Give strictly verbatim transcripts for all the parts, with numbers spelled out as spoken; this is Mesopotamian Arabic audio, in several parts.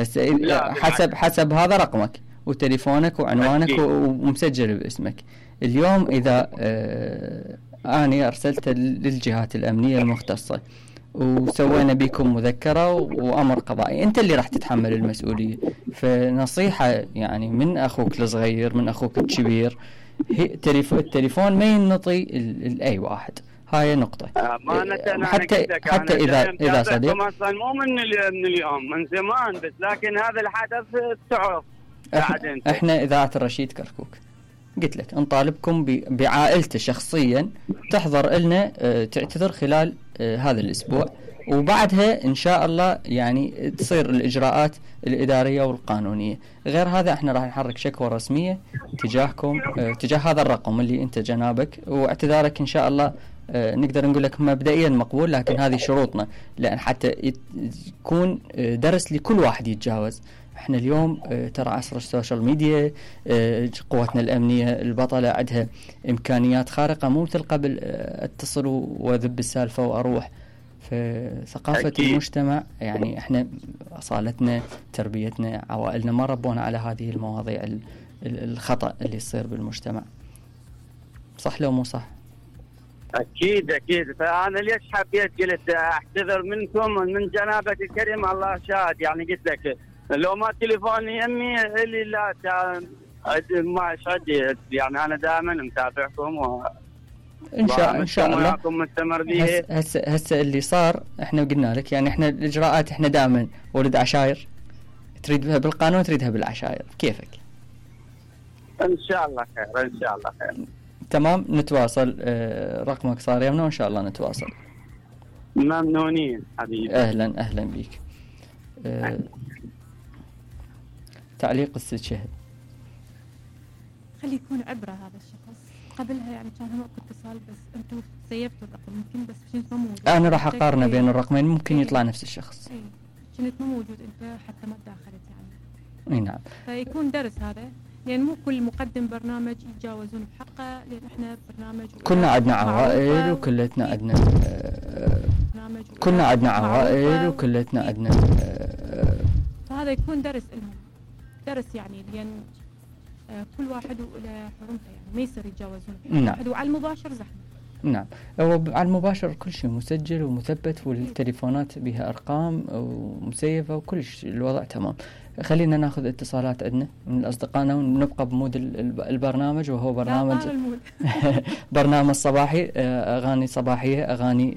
هسه حسب حسب هذا رقمك وتليفونك وعنوانك أكيد. ومسجل باسمك. اليوم إذا آه أنا أرسلت للجهات الأمنية المختصة وسوينا بكم مذكرة وأمر قضائي، أنت اللي راح تتحمل المسؤولية. فنصيحة يعني من أخوك الصغير من أخوك الكبير، التليفون ما ينطي لأي واحد، هاي نقطة. حتى حتى إذا إذا صديق مثلا مو من من اليوم، من زمان، بس لكن هذا الحدث تعرف. احنا, احنا إذاعة الرشيد كركوك قلت لك نطالبكم بعائلته شخصيا تحضر لنا اه تعتذر خلال اه هذا الأسبوع، وبعدها إن شاء الله يعني تصير الإجراءات الإدارية والقانونية. غير هذا احنا راح نحرك شكوى رسمية تجاهكم اه تجاه هذا الرقم اللي انت جنابك، واعتذارك إن شاء الله اه نقدر نقول لك مبدئيا مقبول، لكن هذه شروطنا لأن حتى يكون درس لكل واحد يتجاوز. احنا اليوم اه ترى عصر السوشيال ميديا، اه قواتنا الأمنية البطلة عندها إمكانيات خارقة مو مثل قبل اه اتصل وذب السالفة وأروح. فثقافة أكيد. المجتمع يعني احنا أصالتنا تربيتنا عوائلنا ما ربونا على هذه المواضيع الخطأ اللي يصير بالمجتمع. صح لو مو صح؟ أكيد أكيد. فأنا ليش حبيت قلت أعتذر منكم من جنابك الكريم، الله شاهد. يعني قلت لك لو ما تليفوني يمي اللي لا ما شادي، يعني أنا دائما متابعكم و ان شاء ان شاء الله هسه هسه اللي صار احنا قلنا لك يعني احنا الاجراءات احنا دائما ولد عشاير، تريدها بالقانون تريدها بالعشاير كيفك. ان شاء الله خير ان شاء الله خير. تمام نتواصل. اه رقمك صار يمنا وان شاء الله نتواصل. ممنونين حبيبي. اهلا اهلا بيك. اه تعليق الست شهد. خلي يكون عبرة هذا الشخص. قبلها يعني كان هم اتصال بس انتم سيفتوا الرقم يمكن بس كنت مو موجود. انا راح اقارنه بين الرقمين ممكن يطلع نفس الشخص. اي كنت مو موجود انت حتى ما تداخلت يعني. اي نعم. فيكون درس هذا، لان مو كل مقدم برنامج يتجاوزون بحقه، لان احنا برنامج كلنا عندنا عوائل وكلتنا عندنا برنامج كلنا عندنا عوائل وكلتنا عندنا فهذا يكون درس لهم، درس يعني لان كل واحد وله حرمته يعني ما يصير يتجاوزون. نعم. واحد وعلى المباشر زحمه. نعم هو على المباشر كل شيء مسجل ومثبت والتليفونات بها ارقام ومسيفه وكل شيء الوضع تمام. خلينا ناخذ اتصالات عندنا من اصدقائنا ونبقى بمود البرنامج، وهو برنامج برنامج صباحي، اغاني صباحيه، اغاني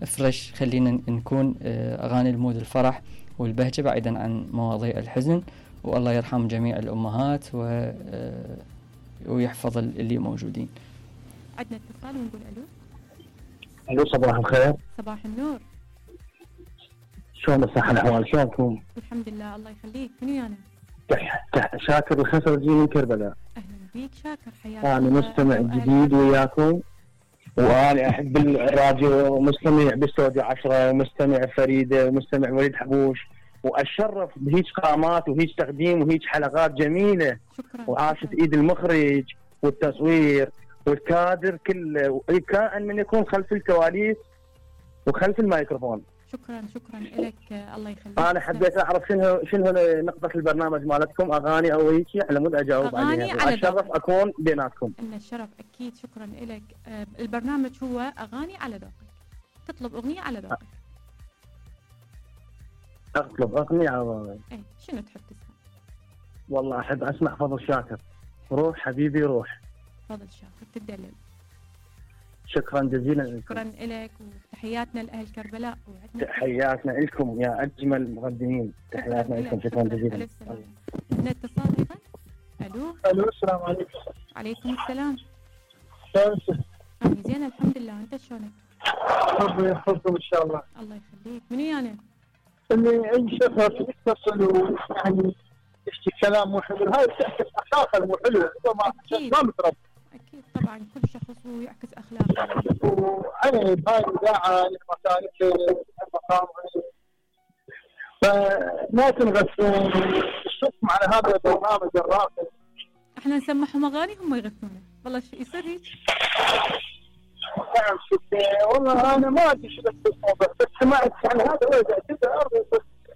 فريش. خلينا نكون اغاني المود الفرح والبهجه بعيدا عن مواضيع الحزن، والله يرحم جميع الأمهات و... ويحفظ اللي موجودين. عندنا اتصال ونقول ألو. ألو صباح الخير. صباح النور. شلون الصحة الأحوال شلونكم؟ الحمد لله الله يخليك. منو أنا؟ تح... تح... شاكر الخسرجي من كربلاء. أهلا بيك شاكر حياك. أنا مستمع جديد وياكم، وأنا أحب الراديو ومستمع باستوديو عشرة ومستمع فريدة ومستمع وليد حبوش، وأشرف بهيج قامات وهيج تقديم وهيج حلقات جميلة. شكرا. وعاشت إيد المخرج والتصوير والكادر كله، كائن من يكون خلف الكواليس وخلف الميكروفون. شكرا شكرا لك الله يخليك. أنا حبيت أعرف شنو شنو نقطة البرنامج مالتكم، أغاني أو هيك على مود أجاوب عليها، وأشرف أكون بيناتكم. إن الشرف أكيد. شكرا لك. البرنامج هو أغاني على ذوقك، تطلب أغنية على ذوقك. أطلب أغنية على ذوقك. إيه شنو تحب تسمع؟ والله أحب أسمع فضل شاكر، روح حبيبي روح. فضل شاكر تدلل. شكرا جزيلا لكم. شكرا لك وتحياتنا لأهل كربلاء. تحياتنا لكم يا أجمل مقدمين، تحياتنا لكم. شكرا جزيلا. عندنا اتصال أيضا. ألو. ألو السلام عليكم. عليكم السلام. شلونك؟ أنا زين الحمد لله، أنت شلونك؟ ربي يحفظكم إن شاء الله. الله يخليك. منو يعني؟ اللي أي شخص يتصل ويعني يحكي كلام مو حلو، هاي تعكس أخلاقه مو حلو، هو ما ما متربي. أكيد طبعا كل شخص ويعكس أخلاقه. وأنا بهاي الإذاعة لمكانتي المقام فما تنغثون تشوفهم على هذا البرنامج الراقي. احنا نسمعهم أغاني هم يغثونه، والله شو يصير هيك؟ نعم شكرا. والله أنا ما أدري شو بس بس سمعت عن هذا وجع كذا أرضي بس